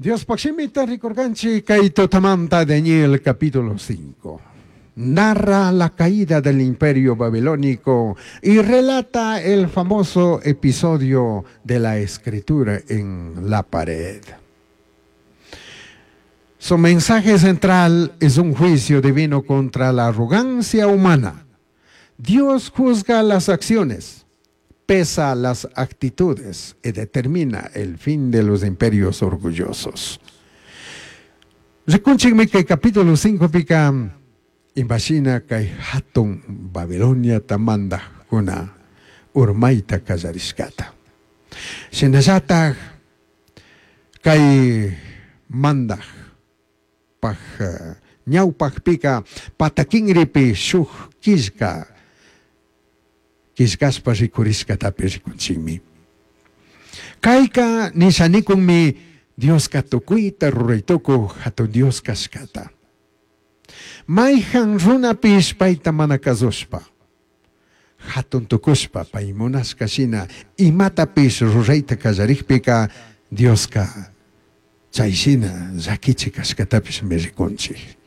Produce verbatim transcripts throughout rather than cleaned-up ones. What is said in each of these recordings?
Diospaj shimita rikurkanchik kay tutamanta Daniel capítulo cinco. Narra la caída del imperio babilónico y relata el famoso episodio de la escritura en la pared. Su mensaje central es un juicio divino contra la arrogancia humana. Dios juzga las acciones, pesa las actitudes y determina el fin de los imperios orgullosos. Rikunchikmi kay capítulo cinco pika imashina kay hatun Babilonia mandajkuna urmaita kallarishkata. Shinallataj kay mandaj paj ñawpajpika patakinripi shuk killka killkashpa rikurishkatapi rikunchikmi. Kayka nishanikunmi Dioska tukuyta ruraytukuj hatun Dios kashkata. Mayhan runapish payta mana kasushpa, hatun tukushpa pay munashka shina imatapish rurayta kallarikpika Dioska chay shina llakichik kashkatapishmi rikunchik.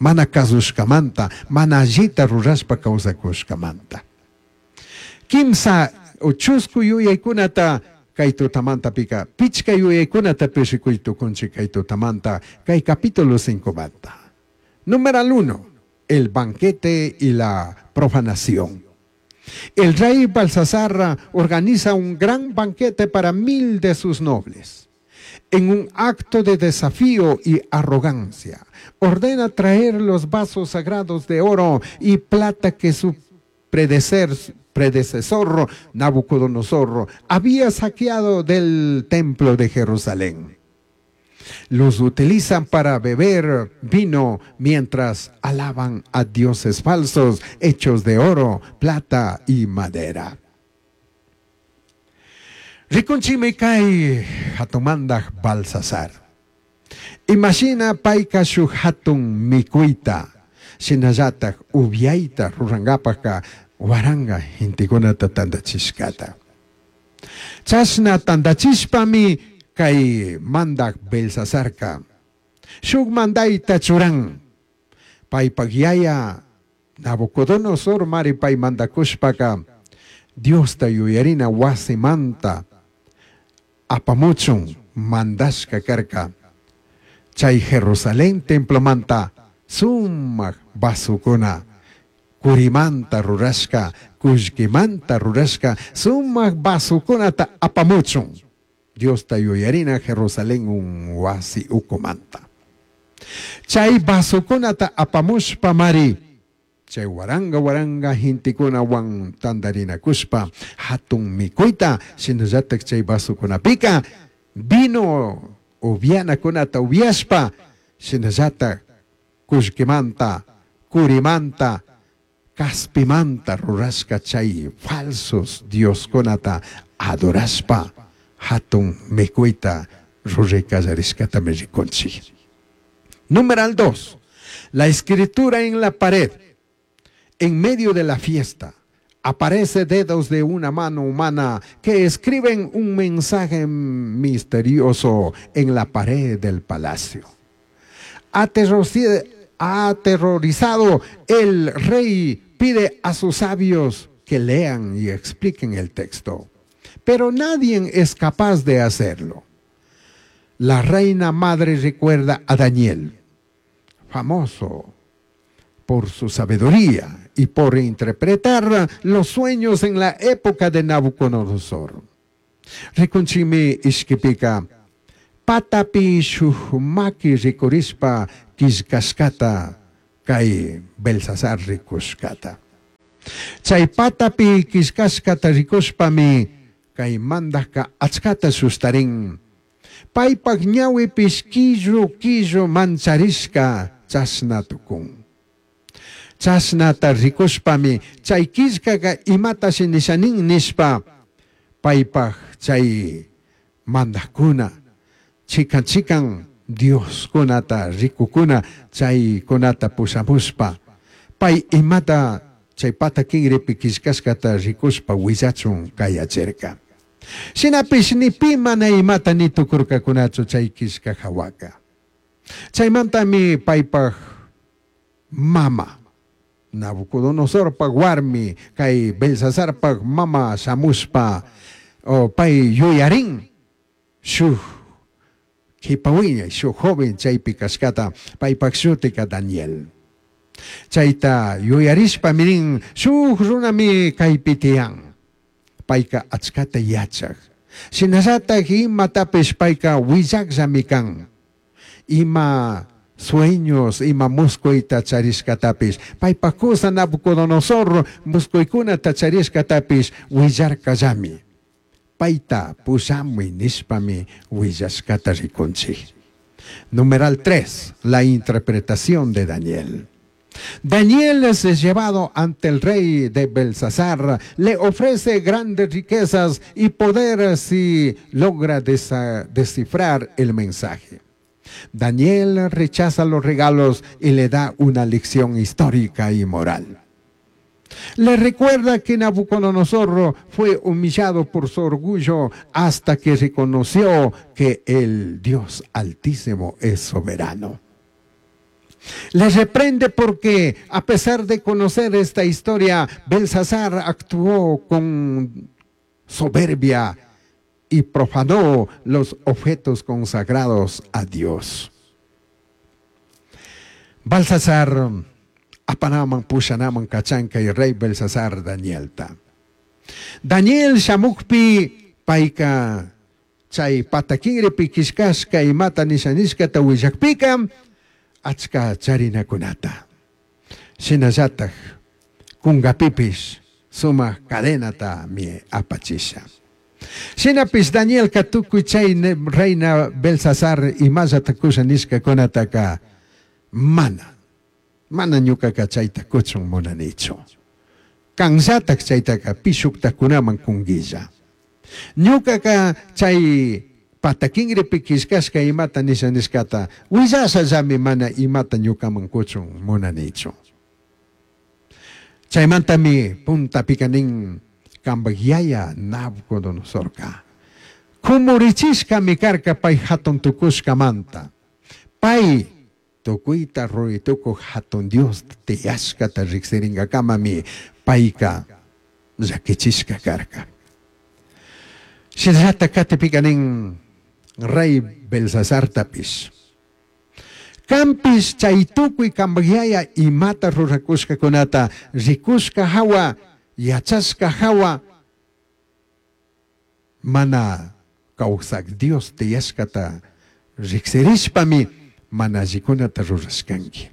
Mana kasushkamanta, mana allita rurashpa kawsakushkamanta. Kimsa o chusku yuyaykunata kay tutamanta pika, pichka yuyaykunatapish rikuy tukunchik kay tutamanta, kay capítulo cinco manta. Numeral uno, el banquete y la profanación. El rey Balsasar organiza un gran banquete para mil de sus nobles. En un acto de desafío y arrogancia, ordena traer los vasos sagrados de oro y plata que su predecer, predecesor Nabucodonosor había saqueado del templo de Jerusalén. Los utilizan para beber vino mientras alaban a dioses falsos hechos de oro, plata y madera. Rikunchikmi kay hatumandaj Balsasar. Imagina payka shuk hatun mikuyta, shinallataj upiayta rurankapajka waranga gentekunata tandachishkata. Chashna tandachishpami kay mandak Belsasarka shuk mandayta churan. Paypak yaya Nabucodonosor mari pay mandakushpaka Diosta yuyarina wasimanta apamuchun mandashka karka. Chay Jerusalén templomanta sumak vasukuna kurimanta rurashka, kullkimanta rurashka sumak vasukunata apamuchun. Diosta yuyarina Jerusalén un wasi ukumanta. Chay vasukunata apamushpa mari, chay waranga waranga gentekunawan tandarinakushpa hatun mikuyta, shinallatak chay vasukunapika vino upianakunata upiashpa, shinallatak kullkimanta, kurimanta, kaspimanta rurashka chay falsos dioskunata adorashpa hatun mikuyta ruray kallarishkatami rikunchik. Numeral dos, la escritura en la pared. En medio de la fiesta aparece dedos de una mano humana que escriben un mensaje misterioso en la pared del palacio. Aterroriz-, aterrorizado, el rey pide a sus sabios que lean y expliquen el texto, pero nadie es capaz de hacerlo. La reina madre recuerda a Daniel, famoso por su sabiduría y por interpretar los sueños en la época de Nabucodonosor. Rikunchikmi ishkipika, patapi shuk maki rikurishpa killkashkata kay Belsasar rikushkata. Chay patapi killkashkata rikushpami kay mandajka achkata sustarin. Paypak ñawipish killu killu mancharishka chashna tukun. Chashnata rikushpami chay killkaka imatashi nishanin nishpa paypak chay mandajkuna chikan chikan dioskunata rikukuna chaykunata pushamushpa pay imata chay pata kinripi killkashkata rikushpa willachun kayachirka. Shinapish ni pi mana imata ni tukurkakunachu chay killka hawaka. Chaymantami paypaj mama Nabucodonosorpaj warmi kay Belsasarpaj mama shamushpa o pay yuyarin shuk kipawiñay shuk joven chaypi kashkata paypaj shutika Daniel. Chayta yuyarishpa mirin shuk runami kaypi tiyan. Payka achkata yachaj. Shinallatak imatapish payka willakllami kan. Ima sueños, ima muskuyta charishkatapish. Paypaj kusa Nabucodonosor muskuykunata charishkatapish willarkallami. Payta pushamuy nishpami willashkata rikunchik. Numeral tres, la interpretación de Daniel. Daniel es llevado ante el rey de Belsasar, le ofrece grandes riquezas y poder si logra descifrar el mensaje. Daniel rechaza los regalos y le da una lección histórica y moral. Le recuerda que Nabucodonosor fue humillado por su orgullo hasta que reconoció que el Dios Altísimo es soberano. Le reprende porque, a pesar de conocer esta historia, Belsasar actuó con soberbia y profanó los objetos consagrados a Dios. Balsasar apanaman pushanaman kachanka y rey Belsasar Danielta. Daniel shamukpi payka chay patakinripi kishkashka imata nishanishkata willakpika achka charinakunata. Shinallatak kungapipish sumak cadenata mi apachisha. Shinapish Danielka tukuy chay reina Belsasar imallata kusha nishkakunataka mana. Mana ñukaka chayta kuchun munanichu. Kanllatak chaytaka pishuktakunaman kunguilla. Ñukaka chay patakinripi kishkashka imata nisha nishkata willashallami mana imata ñukaman kuchun munanichu. Chaymantami puntapika nin kanpak yaya Nabucodonosorka. Kumurichishkami karka pay hatun tukushkamanta. Pay tukuyta ruraytukuq hatun Dios tiyashkata riksirinkakamami payka llakichishka karka. Shinallata katipika nin rey Belsasartapish. Kanpish chay tukuy kanpak yaya imata rurakushkakunata rikushka hawa yachashka hawa mana kawsak Dios tiyashkata riksirishpami mana allikunata rurashkanki.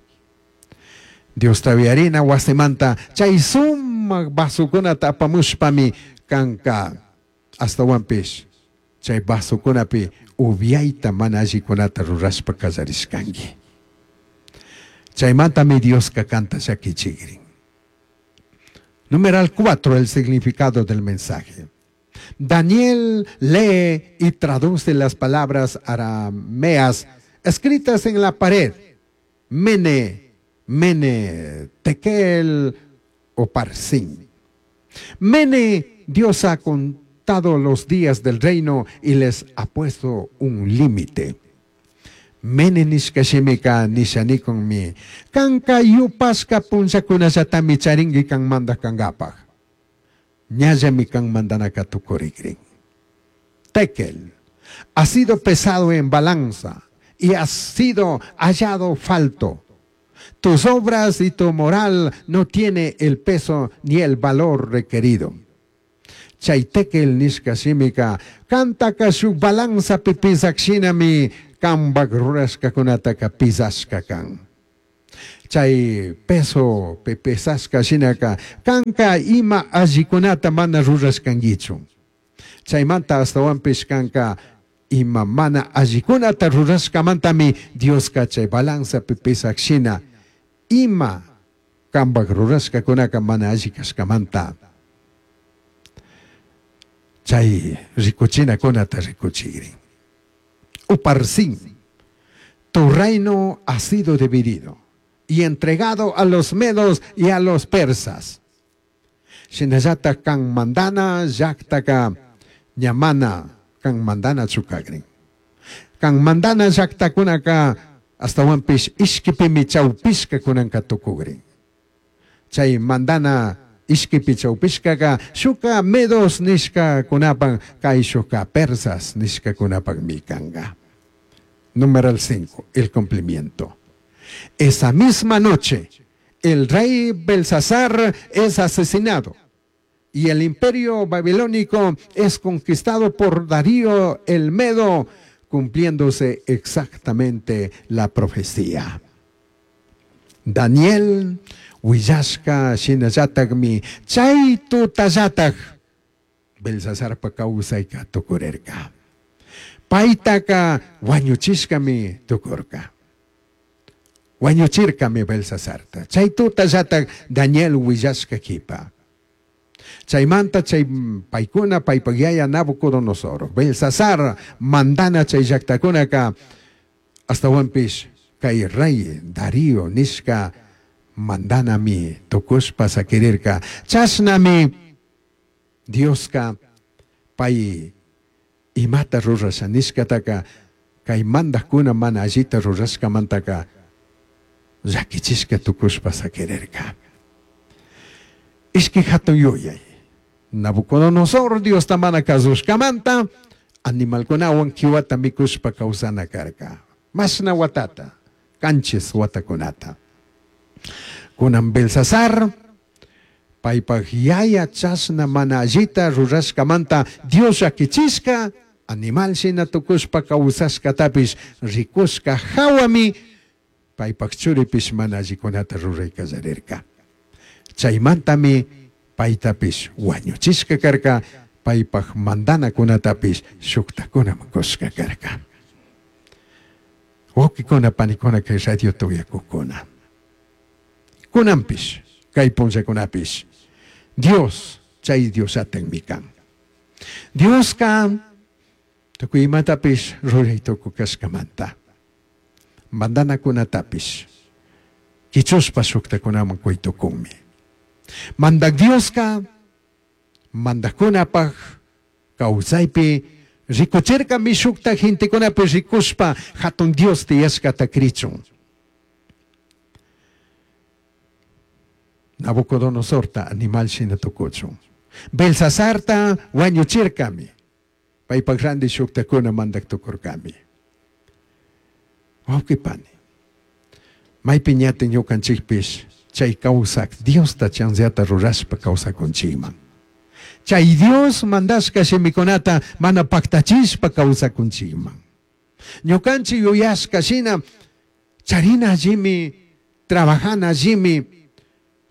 Diosta uyarina wasimanta chay sumak vasukunata apamushpami kanka astawanpish chay vasukunapi upiayta mana allikunata rurashpa kallarishkanki. Chaymantami Dioska kanta llakichikrin. Numeral cuatro, el significado del mensaje. Daniel lee y traduce las palabras arameas escritas en la pared. Mene, Mene, Tekel o Parsin. Mene, Dios ha contado los días del reino y les ha puesto un límite. Mene nishka shimika nishanikun mi. Kanka yupashka punllakunallatami charinki kan mandak kankapaj. Ñallami kan mandanaka tukurikrin. Tekel, ha sido pesado en balanza y has sido hallado falto. Tus obras y tu moral no tiene el peso ni el valor requerido. Chay tekel nishka shimika, kantaka shuk balanza pipisak shinami kanpak rurashkakunataka pisashka kan. Chay peso pipesashka shinaka, kanka ima allikunata mana rurashkankichu. Chaymanta astawanpish kanka ima mana allikunata rurashkamantami Dioska chay balanza pipisak shina ima kanpak rurashkakunaka mana alli kashkamanta chay rikuchinakunata rikuchikrin. Uparsin, tu reino ha sido dividido y entregado a los medos y a los persas. Shinallata kan mandana llaktaka Ña mana kan mandanachu kagrin. Kan mandana llaqtakunaka astawanpish ishkipimi chawpishka kunanka tukugrin. Chay mandana ishkipi chawpishkaka shuka medos nishkakunapak kayshuka persas nishkakunapakmi kanka. Numeral cinco, el cumplimiento. Esa misma noche, el rey Belsasar es asesinado y el imperio babilónico es conquistado por Darío el Medo, cumpliéndose exactamente la profecía. Daniel willashka shinallatakmi chay tutallatak Belsasarpa kawsayka tukurirka. Paytaka wañuchishkami tukurka. Wañuchirkami Belsasarta. Chay tutallatak Daniel willashka kipa. Chaymanta chay paykuna paypak yaya Nabucodonosor, Belsasar mandana chay llaqtakunaka astawanpish kay rey Darío nishka mandanami tukushpa sakirirka. Chashnami Dioska pay imata rurasha nishkataka kay mandajkuna mana allita rurashkamantaka llakichishka tukushpa sakirirka. Ishki hatun yuyay. Nabucodonosor Diosta mana kasushkamanta animalkunawan kiwata mikushpa kawsana karka. Mashna watata, kanchis watakunata. Kunan Belsasar paypak yaya chashna mana allita rurashkamanta Dios llakichishka animal shina tukushpa kawsashkatapish rikushka hawami paypak churipish mana allikunata ruray kallarirka. Chaymantami paytapish wañuchishka karka, paypak mandanakunatapish shuktakunaman kushka karka. Wawqikuna panikuna kay radio tuyakukuna. Kunanpish, kay punllakunapish, Dios chay Diosatanmi kan. Dioska tukuy imatapish ruray tukukashkamanta. Mandanakunatapish kichushpa shuktakunaman kuytukunmi. Mandak Dioska mandajkunapaj kawsaypi rikuchirkami shukta gentekunapi rikushpa hatun Dios tiyashkata krichun. Nabucodonosorta animal shina tukuchun. Belsasarta wañuchirkami. Paypak randi shuktakuna mandak tukurkami. Wawqi pani, maypi ñatin ñukanchikpish chay kawsak Diosta chanzata rurashpa kawsakunchikman. Chay Dios mandashka shimikunata mana paktachishpa kawsakunchikman. Ñukanchik yuyashka shina charina allimi, trabajana allimi,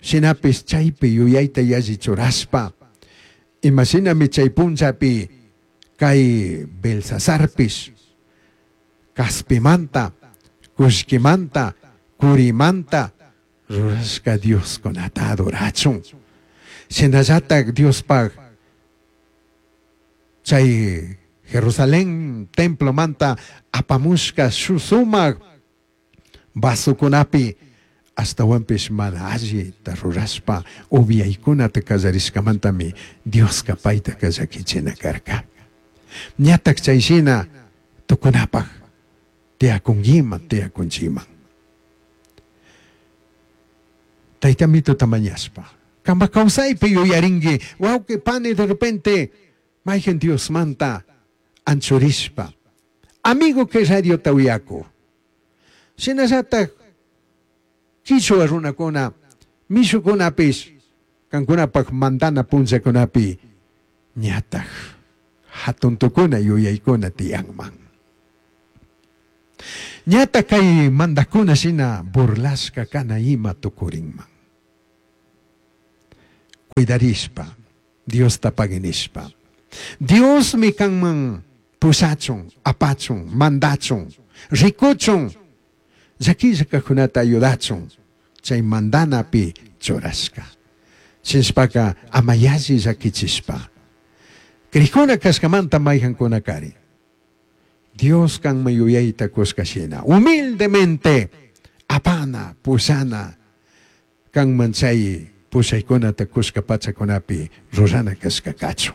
shinapish chaypi yuyayta yalli churashpa imashinami chay punllapi kay Belsasarpish kaspimanta, kullkimanta, kurimanta rurashka Dioskunata adorachun. Shinallatak Diospaj chay Jerusalén templomanta apamushka sumak vasukunapi astawanpish mana allita rurashpa uviaykunata kallarishkamantami Dioska payta llakichina karka. Ñatak chay shina tukunapaj tiyakunkiman tiyakunchikman. Taytamituta mañashpa kanpak kawsaypi yuyarinki wawqi pani de repente mayqin Diosmanta anchurishpa amigo kay radiota uyaku. Shinallatak kichwa runakuna mishukunapish kankunapak mandana punllakunapi ñatak hatun tukuna yuyaykuna tiyanman. Ñatak kay mandakuna shina burlashka kana ima tukurinman. Cuidarishpa, Diosta paginishpa. Diosmi kanman pushachun, apachun, mandachun, rikuchun, llakilla kajkunata ayudachun, chay mandanapi churashka. Shinshpaka ama yalli llakichishpa. Krijkuna kashkamanta mayjankuna kari. Dios kanman yuyayta kushka shina. Humildemente apana, pushana, kanman chay pushaykunata kushka pachakunapi rurana kashka kachun.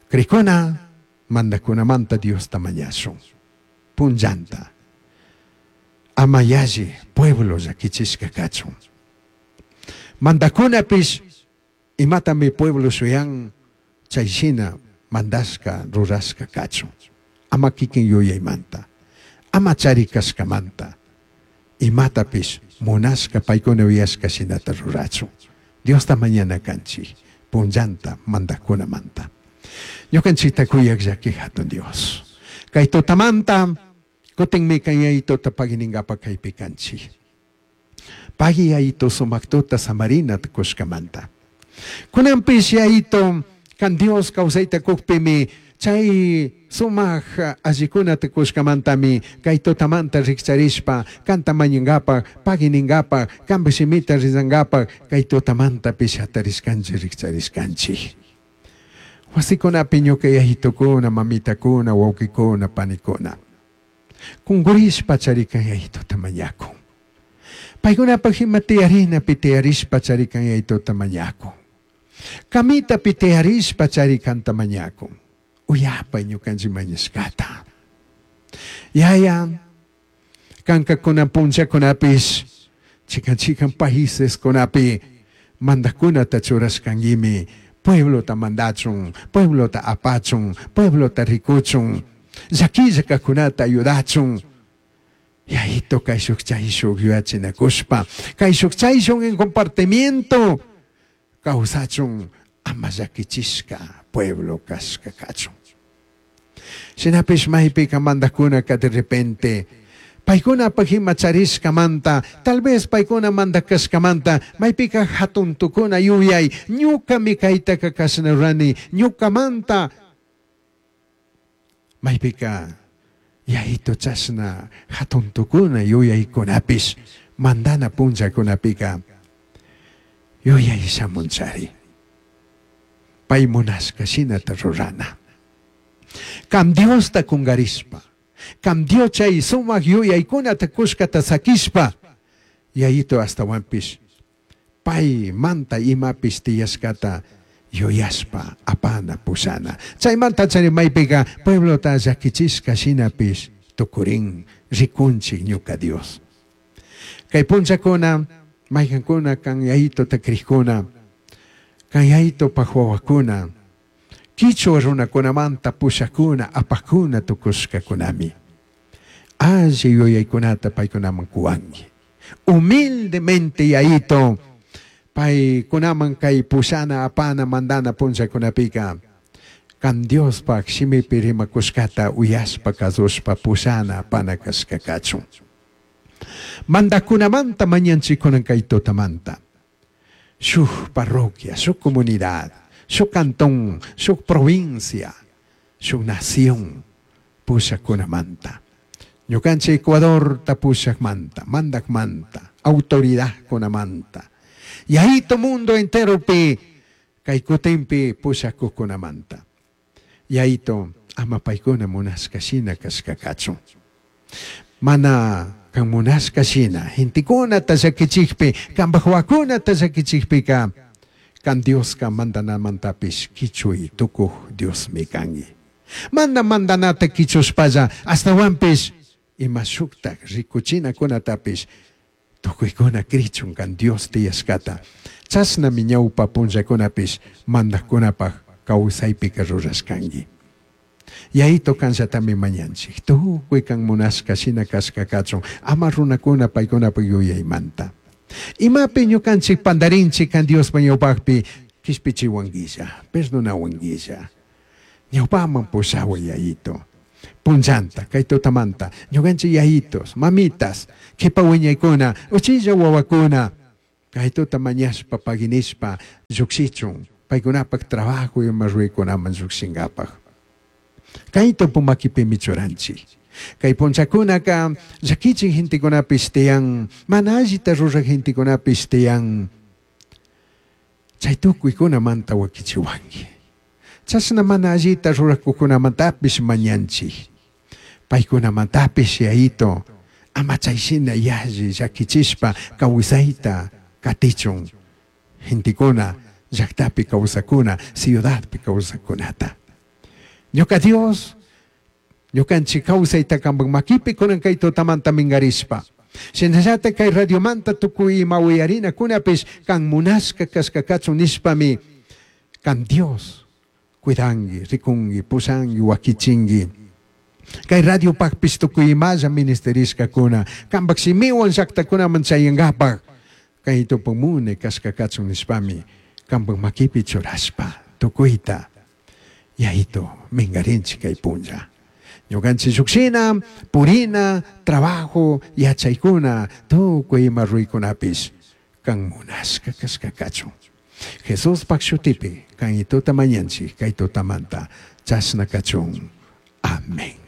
Crikuna mandakunamanta Diosta mañashun. Punllanta. Ama yalli pueblo llakichishka kachun. Mandakunapish imatami pueblo shuyan chay shina mandashka rurashka kachun. Ama kikin yuyaymanta. Ama charikashkamanta. Imatapish munashka paykuna yuyashka shinata rurachun. Diosta mañana kanchik. Punllanta mandakunamanta. Ñukanchikta kuyak llaki hatun Dios. Kay tutamanta kutinmi kan yayituta paginingapa kaypi kanchik. Pagui yayito sumak tuta samarina kushkamanta. Kunanpish yayito kan Dios kawsayta kukpimi chay sumak allikunata kushkamantami kay tutamanta rikcharishpa kanta mañankapak paginingkapak kanpa shimita rizankapak kay tutamantapish hatarishkanchik rikcharishkanchik. Wasikunapi ñuka yayitukuna, mamitakuna, wawkikuna, panikuna. Kunkurishpa charikan yayituta mañakun. Paykunapak ima tiyarinapi tiyarishpa charikan yayituta mañakun. Kamitapi tiyarishpa charikanta mañakun. Uyapay ñukanchik mañashkata. Yaya, kanka kunan punllakunapish, chikan chikan países kunapi mandakunata churashkankimi, pueblota mandachun, pueblota apachun, pueblota rikuchun, llakilla kajkunata ayudachun. Yayito kayshuk chayshuk yuyachinakushpa, kayshuk chayshuk en compartimiento, kawsachun ama llakichishka pueblo kashka kachun. Shinapish maypika mandakunaka de repente paykunapak ima charishkamanta, tal vez paykuna mandakashkamanta, maypika hatun tukuna yuyay, ñukami kaytaka kashna rurani, ñukamanta maypika yayito chashna hatun tukuna yuyaykunapish mandana punllakunapika yuyay shamunchari. Pay munashka shinata rurana. Kam Diosta kungarishpa, kam Dios chay sumak yuyaykunata kushkata sakishpa, yayito astawanpish pay manta imapish tiyashkata yuyashpa apana pushana. Chaymanta chari maypika pueblota llakichishka shinapish tukurin rikunchik ñuka Dios. Kay punllakuna maykankuna kan yayitota krikuna, kan yayitopak wawakuna, kichwa runakunamanta pushakuna apakuna tukushkakunami. Alli yuyaykunata paykunaman kuwanki. Humildemente yayito paykunaman kay pushana apana mandana punllakunapika kan Diospak shimipi rimakushkata uyashpa kasushpa pushana apana kashka kachun. Mandakunamanta mañanchikunan kay tutamanta. Shuk parroquia, shuk comunidad, shuk cantón, shuk provincia, shuk nación pushakunamanta. Ñukanchik Ecuador ta pushakmanta, mandakmanta, autoridad kunamanta. Yayito mundo entero pi kay kutinpi pushakukunamanta. Yayito ama paykuna munashka shina kashka kachun. Mana kan munashka shina, gentekunata llakichikpi, kanpak wawakunata llakichikpika, kan Dioska mandanamantapish kichuy tukuj Diosmi kanki. Mana mandanata kichushpalla, astawanpish ima shuktak rikuchinakunatapish tukuykuna krichun kan Dios tiyashkata. Chashnami ñawpa punllakunapish mandakkunapak kawsaypika rurashkanki. Yayito kanllatami mañanchik. Tukuy kan munashka shina kashka kachun, ama runakuna paykunapak yuyaymanta. Imapi ñukanchik pandarinchik kan Diospa ñawpakpi kishpichiwanguilla, perdonawanguilla. Ñawpaman pushaway yayito. Punllanta, kay tutamanta, ñukanchik yayitos, mamitas, kipa wiñaykuna, uchilla wawakuna, kay tuta mañashpa paginishpa llukshichun, paykunapak trabajo ima ruraykunaman llukshinkapak. Kay tupu makipimi churanchik. Kay punllakunaka llakichik gentekunapish tiyan, mana allita ruraj gentekunapish tiyan. Chay tukuykunamanta wakichiwanki. Chashna mana allita rurakukunamantapish mañanchik. Paykunamantapish yayito, ama chayshina yalli llakichishpa kawsayta katichun. Gentekuna llaktapi kawsakuna, ciudadpi kawsakunata. Ñuka Dios, ñukanchik kawsayta kanpak makipi kunan kay tutamanta minkarishpa. Shinallata kay radiomanta tukuy ima uyarinakunapish kan munashka kashka kachun nishpami kan Dios cuidanki, rikunki, pushanki, wakichinki. Kay radiopakpish tukuy imalla ministerishkakuna kanpak shimiwan llaktakunaman chayankapak kay tupumune kashka kachun nishpami kanpak makipi churashpa tukuyta Yayito minkarinchik kay punlla. Ñukanchik llukshina, purina, trabajo, yachaykuna, tukuy ima ruykunapish kan munashka kashka kachun. Jesuspak shutipi kan tuta mañanchik kay tutamanta chashna kachun. Amén.